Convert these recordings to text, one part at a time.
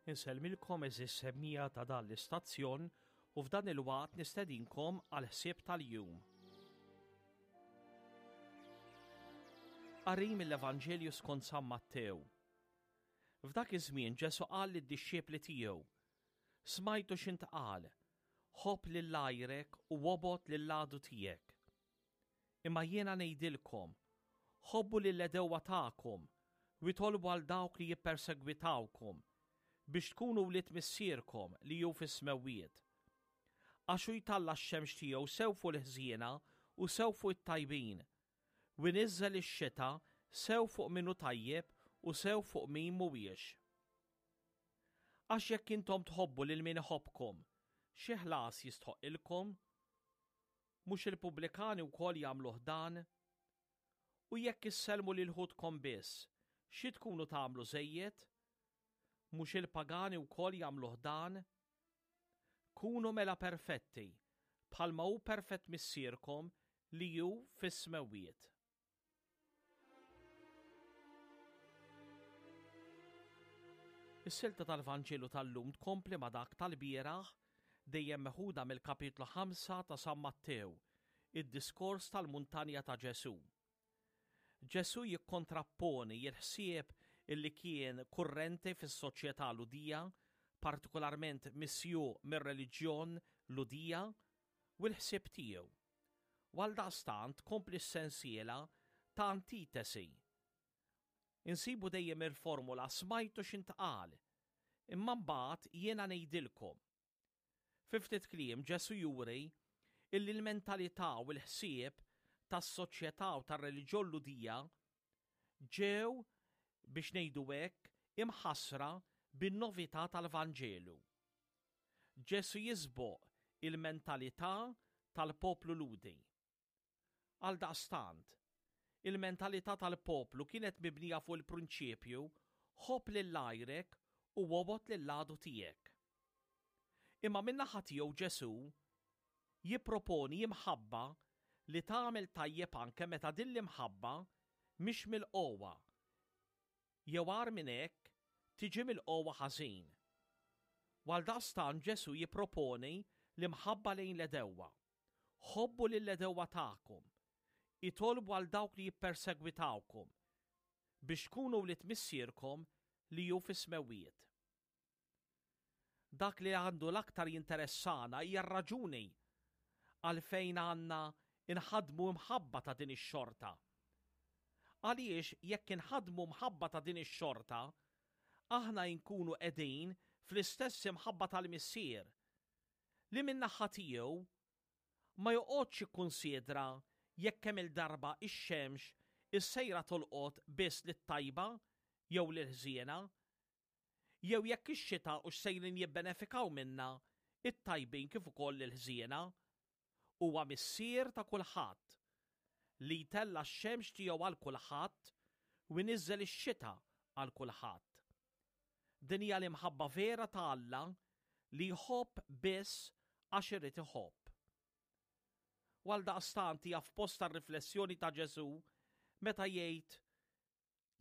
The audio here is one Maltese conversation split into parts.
Insellmilkom għeżież semmiegħa ta' dan l-istazzjon u f'dan il-waqt nistedinkom għall-ħsieb tal-jum. Qari mill-Evanġelju skont San Mattew. F'dak iż-żmien Ġesù qal lid-dixxipli tiegħu, Smajtu x'intqal, ħobb lil għajrek u obgħod lill-għadu tiegħek. Imma jiena ngħidilkom, ħobbu lill-għedewwa tagħkom, u itolbu għal dawk li jippersegwitawkom, biex tkunu wlied Missierkom li hu fis-smewwiet. Għax hu jtalla' x-xemx tiegħu sew fuq il-ħżiena u sew fuq it-tajbin, u jniżżel ix-xita sew fuq min hu tajjeb u sew fuq min mhuwiex. Għax jekk intom tħobbu lil min iħobbkom, xi ħlas jistħoqqilkom? Mhux il-pubblikani wkoll jagħmluh dan? U jekk issellmu lil ħutkom biss, xi tkunu tagħmlu żejjed? Mhux il-pagani wkoll jagħmluh dan? Kunu mela perfetti, bħalma hu perfett Missierkom li hu fis-smewwiet. Is-silta tal-Vanġelu tal-lum tkompli ma' dak tal-bieraħ, dejjem meħuda mill-kapitlu 5 ta' San Mattew, id-diskors tal-muntanja ta' Ġesù. Ġesù jikkontrapponi l-ħsieb illi kien kurrenti fis-soċjetà Lhudija, partikolarment misjuq mir-reliġjon Lhudija, u l-ħsieb tiegħu. U għaldaqstant tkompli s-sensiela ta' antitesi. Insibu dejjem il-formula smajtu x'intqal, imma mbagħad jiena ngħidilkom. Fi ftit kliem Ġesù juri illi l-mentalità u l-ħsieb tas-soċjetà u tar-reliġjon Lhudija ġew, biex ngħidu hekk, imħassra bin-novità tal-Vanġelu. Ġesù jisboq il-mentalità tal-poplu Lhudi. Għaldaqstant, il-mentalità tal-poplu kienet mibnija fuq il-prinċipju ħobb lil għajrek u obgħod lill-għadu tiegħek. Imma min-naħa tiegħu Ġesù jipproponi imħabba li tagħmel tajjeb anke meta din l-imħabba mhix milqugħa jew agħar minn hekk, tiġi milqugħa ħażin. U għaldaqstant Ġesù jipproponi l-imħabba lejn l-għedewwa. Ħobbu lill-għedewwa tagħkom. Itolbu għal dawk li jippersegwitawkom, biex tkunu wlied Missierkom li hu fis-smewwiet. Dak li għandu l-aktar jinteressana hija r-raġuni għalfejn għandna nħaddmu imħabba ta' din ix-xorta. Għaliex jekk inħaddmu mħabba ta' din ix-xorta, aħna inkunu qegħdin fl-istess imħabba tal-Missier, li min-naħa tiegħu ma joqgħodx jikkunsidra jekk kemm-il darba x-xemx is-sejra tolqot biss lit-tajba jew lill-ħżiena, jew jekk ix-xita hux sejrin jibbenefikaw minnha t-tajbin kif ukoll il-ħżiena. Huwa Missier ta' kulħadd, li jtella' x-xemx tiegħu għal kulħadd u jniżżel ix-xita għal kulħadd. Din hija l-imħabba vera ta' Alla li jħobb biss għax irid iħobb. U għaldaqstant hija f'postha r-riflessjoni ta' Ġesù meta jgħid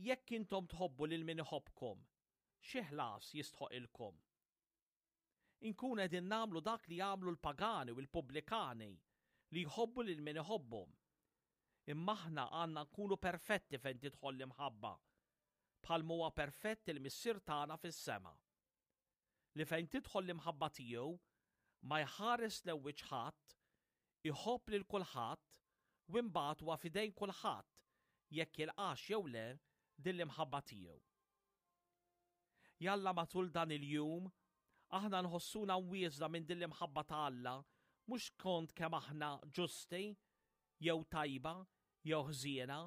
Jekk intom tħobbu lil min iħobbkom, xi ħlas jistħoqilkom? Inkunu qegħdin nagħmlu dak li jagħmlu l-pagani u l-pubblikani li jħobbu lil min iħobbhom. Imma aħna għandna nkunu perfetti fejn tidħol l-imħabba, bħalma huwa perfett il-Missier tagħna fis-sema. Li fejn tidħol l-imħabba tiegħu ma jħares lew wiċċ ħadd, iħobb lil kulħadd u imbagħad huwa f'idejn kulħadd jekk jilqax jew le din l-imħabba tiegħu. Jalla matul dan il-jum aħna nħossuna mwieżna minn din l-imħabba ta' Alla mhux skont kemm aħna ġusti jew tajba jew ħżiena,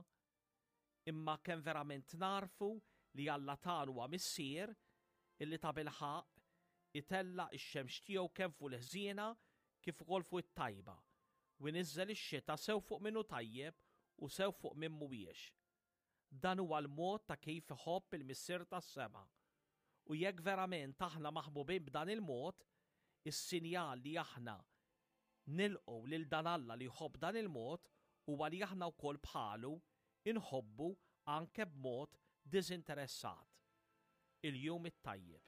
imma kemm verament nagħrfu li Alla tagħna huwa Missier illi tabilħaqq itella' x-xemx tiegħu kemm fuq il-ħżiena kif ukoll fuq it-tajba, u jniżżel ix-xita sew fuq min hu tajjeb u sew fuq min mhuwiex. Dan huwa l-mod ta' kif iħobb il-Missier tas-sema. U jekk verament aħna maħbubin b'dan il-mod, is-sinjal li aħna nilqgħu lil dan Alla li jħobb b'dan il-mod huwa li aħna wkoll bħalu inħobbu anke b'mod diżinteressat. Il-jum it-tajjeb.